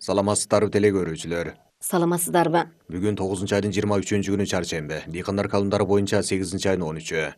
Саламатсыздарбы теле көрүүчүлөр. Саламатсыздарбы? Бүгүн 9 айдын 23-күнү чаршемби. Дыйкандар календары боюнча 8 айдын 13-ү.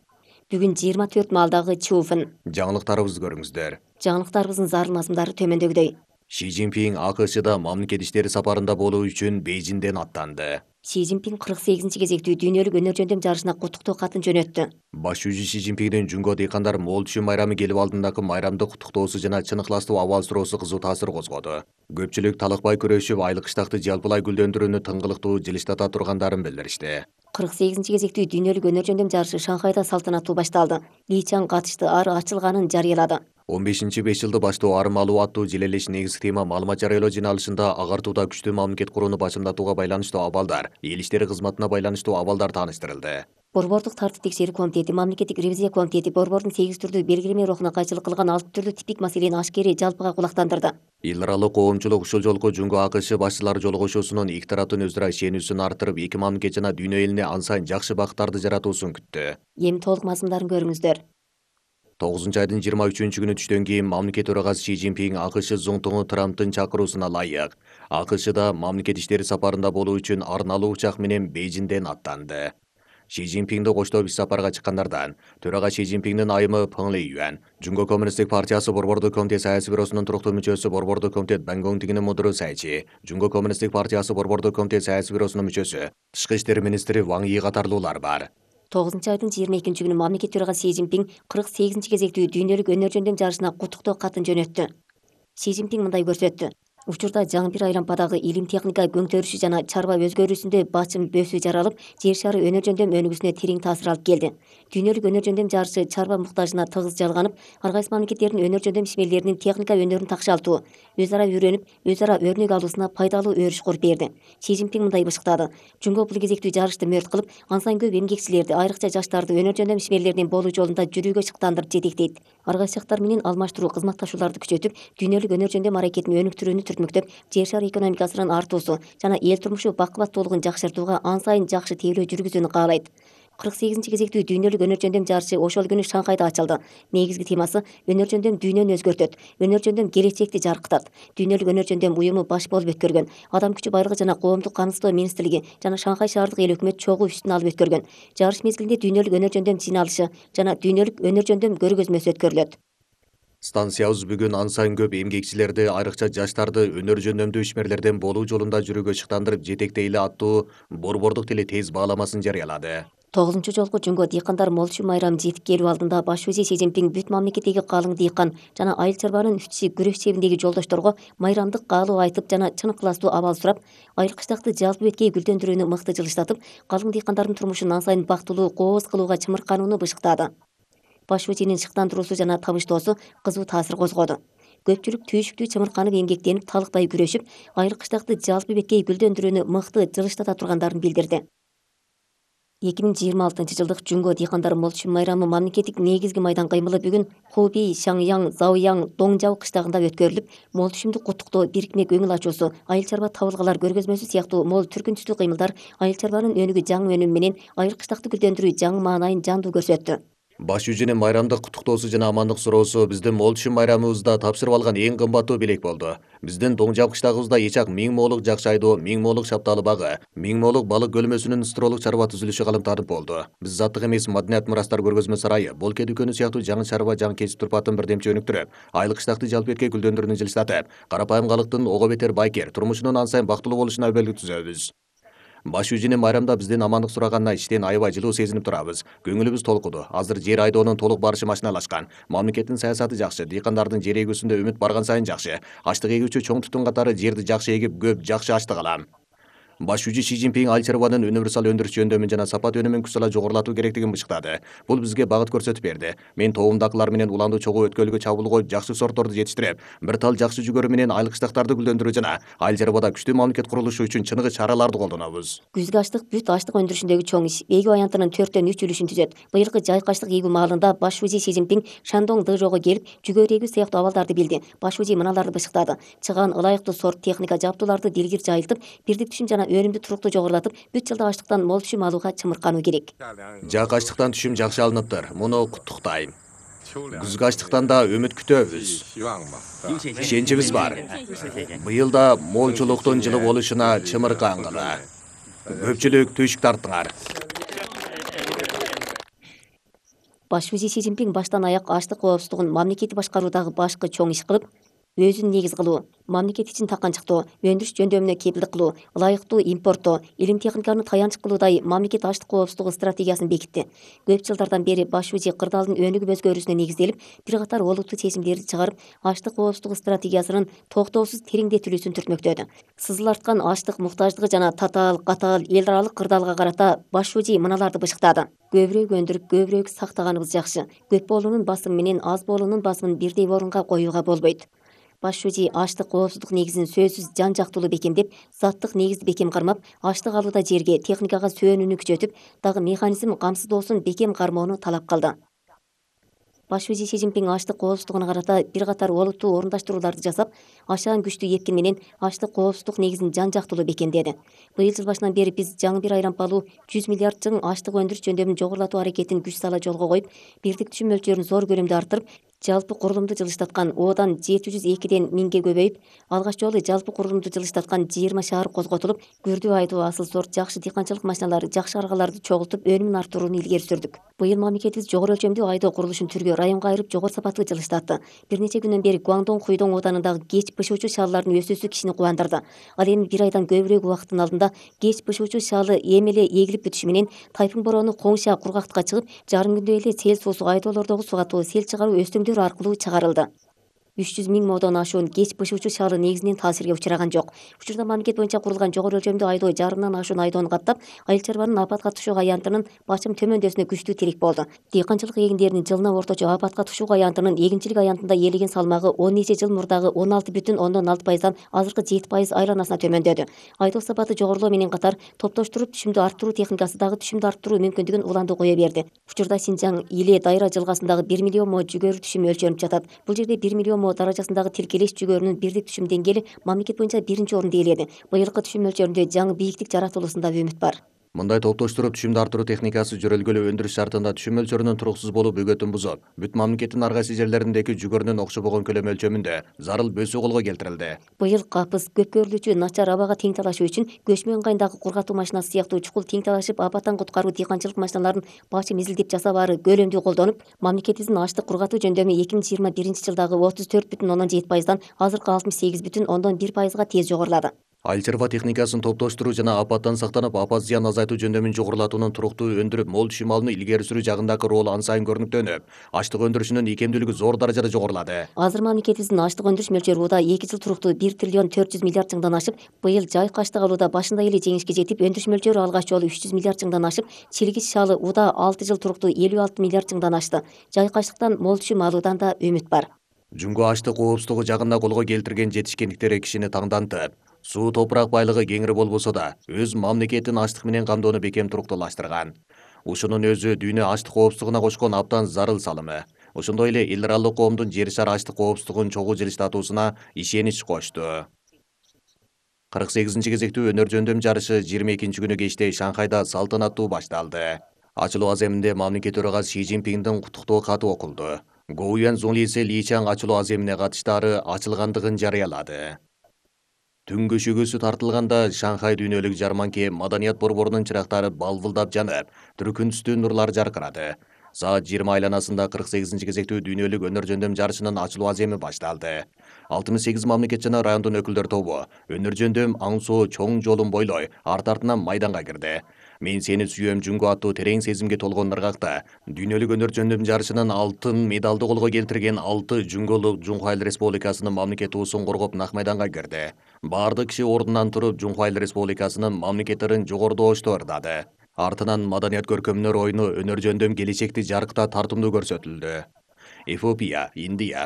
Бүгүн 24 малдагы Чуфын. Жаңылыктарыбызды көрүңүздөр. Жаңылыктарыбыздын зарыл мазмундары төмөндөгүдөй. Ши Цзиньпин АКШда мамлекет иштери сапарында болуу үчүн Бейжиңден аттанды. Ши Цзиньпин 48-кезектүү дүйнөлүк өнөр жөндөм жарышына куттуктоо катын жөнөттү. Баш жүзү Ши Цзиньпиндин Жунго дыйкандар мол түшүм майрамы келип алдындагы майрамдык куттуктоосу жана чын ыкластуу абал суроосу кызуу таасир козгоду. Көпчүлүк талыкпай күрөшүп, айлык кыштакты жалпылай гүлдөндүрүүнү тыңгылыктуу жылыштата тургандарын билдиришти. 48-кезектүү дүйнөлүк өнөр жөндөм жарышы Шанхайда салтанаттуу башталды. Ли Чан катышты, ары ачылганын жарыялады. 15 5 жылды баштоо армалуу аттуу желелеш негизги тема маалымат жарыялоо жыйналышында агартууда күчтүү мамлекет курууну башымдатууга байланыштуу абалдар, эл иштери кызматына байланыштуу абалдар тааныштырылды. Борбордук тартип текшерүү комитети, мамлекеттик ревизия комитети борбордун 8 түрдүү белгилеме рухуна кайчылык кылган 6 түрдүү типтик маселени ашкери жалпыга кулактандырды. Эл аралык коомчулук ушул жолку Жунго АКШ башчылар жолугушуусунун эки тараптын өзү ара ишенүүсүн арттырып, эки мамлекет жана дүйнө элине ан сайын жакшы бактарды жаратуусун күттү. Эми толук мазмундарын көрүңүздөр. 9 айдын 23-күнү түштөн кийин мамлекет төрагасы Ши Цзиньпин АКШ зуңтуңу Трамптын чакыруусуна ылайык АКШда мамлекет иштери сапарында болуу үчүн арналуу учак менен Бейжиңден аттанды. Ши Цзиньпинди коштоп иш сапарга чыккандардан төрага Ши Цзиньпиндин айымы Пeng Лейюан, Жунго коммунисттик партиясы борбордук комитет саясий бюросунун туруктуу мүчөсү борбордук комитет Бангонгдигинин мудуру Сайчи, Жунго коммунисттик партиясы борбордук комитет саясий бюросунун мүчөсү, тышкы иштер министри Ван Yi катарлуулар бар. 9-айдын 22-күнү мамлекет төрагасы Си Цзиньпин 48-кезектүү дүйнөлүк өнөр жөндөм жарышына куттуктоо катын жөнөттү. Си Цзиньпин мындай көрсөттү. Учурда жаңы бир айлампадагы илим техника көңтөрүшү жана чарба өзгөрүүсүндө бачым бөөсү жаралып, жер шары өнөр жөндөм өнүгүүсүнө терең таасир алып келди. Дүйнөлүк өнөр жөндөм жарышы чарба муктажына тыгыз жалганып, ар кайсы мамлекеттердин өнөр жөндөм ишмерлеринин техника өнөрүн такшалтуу, өз ара үйрөнүп, өз ара өрнөк алуусуна пайдалуу өрүш куруп берди. Си Цзиньпин мындай бышыктады. Жунго бул кезектүү жарышты мөрт кылып, ан сайын көп эмгекчилерди, айрыкча жаштарды өнөр жөндөм ишмерлеринин болуу жолунда жүрүүгө чыктандырып жетектейт. Ар кайсы жактар менен алмаштыруу, кызматташууларды күчөтүп, дүйнөлүк өнөр жөндөм аракетин өнүктүрүүнү түртмөктөп, жер шары экономикасынын артуусу жана эл турмушу бакубаттуулугун жакшыртууга ан сайын жакшы тейлөө жүргүзүүнү каалайт. 48-кезектүү дүйнөлүк өнөр жөндөм жарышы ошол күнү Шанхайда ачылды. Негизги темасы өнөр жөндөм дүйнөнү өзгөртөт, өнөр жөндөм келечекти жаркытат. Дүйнөлүк өнөр жөндөм уюму баш болуп өткөргөн, Адам күчү байлыгы жана коомдук камсыздоо министрлиги жана Шанхай шаардык эл өкмөт чогуу үстүн алып өткөргөн. Жарыш мезгилинде дүйнөлүк өнөр жөндөм жыйналышы жана дүйнөлүк өнөр жөндөм көргөзмөсү өткөрүлөт. Станциябыз бүгүн ан сайын көп эмгекчилерди, айрыкча жаштарды өнөр жөндөмдүү ишмерлерден болуу жолунда жүрүүгө чыктандырып жетектейли аттуу борбордук тили тез бааламасын жарыялады. 9 жолку Жунго дыйкандар мол түшүм майрамы жетип келүү алдында баш вазир Си Цзиньпин бүт мамлекеттеги калың дыйкан жана айыл чарбанын ишчи күрөш чебиндеги жолдошторго майрамдык каалоо айтып жана чын ыкластуу абал сурап, айыл кыштакты жалпы беткей гүлдөндүрүүнү мыкты жылыштатып, калың дыйкандардын турмушун ан сайын бактылуу, кооз кылууга чымырканууну бышыктады. Баш вазирдин шыктандыруусу жана табыштоосу кызуу таасир козгоду. Көпчүлүк түйшүктүү чымырканып эмгектенип, талыкпай күрөшүп, айыл кыштакты жалпы беткей гүлдөндүрүүнү мыкты жылыштата тургандарын билдирди. 2026-жылдык Жунго дыйкандар мол түшүм майрамы мамлекеттик негизги майдан кыймылы бүгүн Хубей, Шаңяң, Заояң, Доңжао кыштагында өткөрүлүп, мол түшүмдү куттуктоо, бирикме көңүл ачуусу, айыл чарба табылгалар көргөзмөсү сыяктуу мол түркүн түстүү кыймылдар айыл чарбанын өнүгүү жаңы өнүмү менен айыл кыштакты гүлдөндүрүү жаңы маанайын жандуу көрсөттү. Баш жүзүнүн майрамдык куттуктоосу жана амандык суроосу биздин мол түшүм майрамыбызда тапшырып алган эң кымбаттуу белек болду. Биздин Доңжао кыштагыбызда эчак 1000 моолук жакшы айдоо, 1000 моолук шапталы багы, 1000 моолук балык көлмөсүнүн стролук чарба түзүлүшү калымтанып болду. Биз заттык эмес маданият мурастар көргөзмө сарайы, болке дүкөнү сыяктуу жаңы чарба, жаңы кесип турпатын бирдемче өнүктүрүп, айыл кыштакты жалпы беткей гүлдөндүрүүнү жылыштатып, карапайым калктын ого бетер байкер турмушунун ан сайын бактылуу болушуна өбөлгү түзөбүз. Баш жүзүнүн майрамда биздин амандык сураганына иштен аябай жылуу сезинип турабыз. Көңүлүбүз толкуду. Азыр жер айдоонун толук барышы машиналашкан. Мамлекеттин саясаты жакшы, дыйкандардын жер эгүүсүндө үмүт барган сайын жакшы. Аштык эгүүчү чоң тутун катары жерди жакшы эгип, көп жакшы аштык алам. Баш жүзү Ши Цзиньпин айыл чарбанын универсал өндүрүш жөндөмүн жана сапат өнүмүн күч-сала жогорулатуу керектигин бышыктады. Бул бизге багыт көрсөтүп берди. Мен тоомдакылар менен уланды чогуу өткөлгө чабуул коюп, жакшы сортторду жетиштирип, бир тал жакшы жүгөрү менен айыл кыштактарды гүлдөндүрүү жана айыл чарбада күчтүү мамлекет курулушу үчүн чыныгы чараларды колдонобуз. Күзгү аштык бүт аштык өндүрүшүндөгү чоң иш. Эгүү аянтынын 4/3 үлүшүн түзөт. Быйылкы жайкы аштык эгүү маалында баш вазир Си Цзиньпин Шандong Дэжого келип, жүгөрү эгүү сыяктуу абалдарды билди. Баш вазир мыналарды бышыктады. Чыган ылайыктуу сорт техника жабдууларды дилгир жайылтып, бирдик түшүм жана өнүмдү туруктуу жогорулатып, бүт жылда аштыктан мол түшүм алууга чымыркануу керек. Жак аштыктан түшүм жакшы алыныптыр. Муну куттуктайм. Күзгү ачтыктан да үмүт күтөбүз. Ишенчибиз бар. Быйыл да молчулуктун жылы болушуна чымыркангыла. Көпчүлүк түшүк тарттыңар. Баш вазир Си Цзиньпин баштан аяк аштык коопсуздугун мамлекетти башкаруудагы башкы чоң иш кылып, өзүн негиз кылуу, мамлекет ичин таканчыктоо, өндүрүш жөндөмүнө кепилдик кылуу, ылайыктуу импорттоо, илим техниканы таянч кылуудай мамлекет аштык коопсуздугу стратегиясын бекитти. Көп жылдардан бери баш вазир кырдаалдын өнүгүп өскөрүүсүнө негизделип, бир катар олуттуу чечимдерди чыгарып, аштык коопсуздугу стратегиясынын токтоосуз тереңдетилүүсүн түртмөктөдү. Сызыл арткан аштык муктаждыгы жана татаал, катаал эл аралык кырдаалга карата баш вазир мыналарды бышыктады. Көбүрөөк өндүрүп, көбүрөөк сактаганыбыз жакшы. Көп болуунун басымы менен аз болуунун басымын бирдей орунга коюуга болбойт. Баш вазир аштык коопсуздук негизин сөзсүз жан жактуулуу бекемдеп, заттык негизди бекем кармап, аштык алууда жерге, техникага сөөнүүнү күчөтүп, дагы механизм камсыздоосун бекем кармоону талап кылды. Баш вазир Си Цзиньпин аштык коопсуздугуна карата бир катар олуттуу орундаштырууларды жасап, ашаан күчтүү эпкин менен аштык коопсуздук негизин жан жактуулуу бекемдеди. Быйыл жыл башынан бери биз жаңы бир айлампалуу 100 миллиард жың аштык өндүрүш жөндөмүн жогорулатуу аракетин күч сала жолго коюп, бирдик түшүм мөлчөрүн зор көлөмдө арттырып, жалпы курулумду жылыштаткан Одан 702ден 1000ге көбөйүп, алгач жолу жалпы курулумду жылыштаткан 20 шаар козготулуп, күрдүү айдоо асыл сорт жакшы дыйканчылык машиналары, жакшы аргаларды чогултуп, өнүмүн арттырууну илгери сүрдүк. Быйыл мамлекетибиз жогору өлчөмдүү айдоо курулушун түргө, районго айырып жогору сапаттуу жылыштатты. Бир нече күндөн бери Гуандон Хуйдоң Оданындагы кеч бышуучу шааллардын өсүүсү кишини кубандырды. Ал эми бир айдан көбүрөөк убакыттын алдында кеч бышуучу шаалы эми эле эгилип бүтүшү менен тайфун бороону Коңша кургактыкка чыгып, жарым күндө эле сел суусу айдоолордогу сугатуу, сел чыгаруу өстөңдөр аркылуу чыгарылды. 300 миң модон ашуун кеч бышуучу шаалы негизинен таасирге учураган жок. Учурда мамлекет боюнча курулган жогору өлчөмдүү айдоо жарымдан ашуун айдоону каттап, айыл чарбанын апатка түшүү аянтынын бачым төмөндөсүнө күчтүү тирек болду. Дыйканчылык эгиндеринин жылына орточо апатка түшүү аянтынын эгинчилик аянтында ээлеген салмагы 10 нече жыл мурдагы 16,6%дан азыркы 7% айланасына төмөндөдү. Айдоо сапаты жогорулоо менен катар топтоштуруп түшүмдү арттыруу техникасы дагы түшүмдү арттыруу мүмкүндүгүн уланды кое берди. Учурда Синжаң Иле Дайра жылгасындагы 1 миллион мо жүгөрү түшүм өлчөлүнүп жатат. Бул жерде 1 миллион мо даражасындагы тилкелеш жүгөрүнүн бирдик түшүм деңгээли мамлекет боюнча биринчи орунду ээледи. Быйылкы түшүм мөлчөрүндө жаңы бийиктик жаратылуусунда үмүт бар. Мындай топтоштуруп түшүмдү арттыруу техникасы жөрөлгөлүү өндүрүш шартында түшүм мөлчөрүнүн туруксуз болуу бөгөтүн бузуп, бүт мамлекеттин ар кайсы жерлериндеги жүгөрүнүн окшобогон көлөм өлчөмүндө зарыл бөсүү колго келтирилди. Быйыл капыс, көп көрүлүүчү начар абага тең талашуу үчүн көчмө ыңгайындагы кургатуу машинасы сыяктуу чукул тең талашып апаттан куткаруу дыйканчылык машиналарын бачым изилдеп жасабаары көлөмдүү колдонуп, мамлекетибиздин аштык кургатуу жөндөмү 2021 жылдагы 34,7%дан азыркы 68,1%га тез жогорулады. Айыл чарба техникасын топтоштуруу жана апаттан сактанып, апат зыян азайтуу жөндөмүн жогорулатуунун туруктуу өндүрүп, мол түшүм алууну илгери сүрүү жагындагы ролу ан сайын көрүнүктөнүп, аштык өндүрүшүнүн икемдүүлүгү зор даражада жогорулады. Азыр мамлекетибиздин аштык өндүрүш мөлчөрү уда 2 жыл туруктуу 1 триллион 400 миллиард жыңдан ашып, быйыл жайык аштык алууда башында эле жеңишке жетип, өндүрүш мөлчөрү алгач жолу 300 миллиард жыңдан ашып, чилгич шаалы уда 6 жыл туруктуу 56 миллиард жыңдан ашты. Жайык аштыктан мол түшүм алуудан да үмүт бар. Жумго аштык коопсуздугу жагында колго келтирген жетишкендиктери кишини таңдантып, суу топурак байлыгы кеңири болбосо да, өз мамлекетин аштык менен камдоону бекем туруктуулаштырган. Ушунун өзү дүйнө аштык коопсуздугуна кошкон абдан зарыл салымы. Ошондой эле эл аралык коомдун жер шары аштык коопсуздугун чогуу жылыштатуусуна ишенич кошту. 48-кезектүү өнөр жөндөм жарышы 22-күнү кечте Шанхайда салтанаттуу башталды. Ачылуу аземинде мамлекет төрагасы Си Цзиньпиндин куттуктоо каты окулду. Гоуян Зунлисе Ли Чаң ачылуу аземине катыштаары ачылгандыгын жарыялады. Түн көшөгөсү тартылганда Шанхай дүйнөлүк жарманке маданият борборунун чырактары балбылдап жанып, түркүнүстүү нурлар жаркырады. Саат 20 айланасында 48-кезектүү дүйнөлүк өнөр жөндөм жарышынын ачылуу аземи башталды. 68 мамлекет жана райондун өкүлдөр тобу өнөр жөндөм аңсоо чоң жолун бойлой арт-артынан майданга кирди. Мен сени сүйөм Жунго аттуу терең сезимге толгон ыргакта дүйнөлүк өнөр жөндөм жарышынын алтын медалды колго келтирген 6 жунголук Жунхуа Айыл Республикасынын мамлекет туусун коргоп нак майданга кирди. Бардык киши ордунан туруп Жунхуа Айыл Республикасынын мамлекет ырын жогорудошту ырдады. Артынан маданият көркөмдөр оюну өнөр жөндөм келечекти жаркта тартымдуу көрсөтүлдү. Эфиопия, Индия,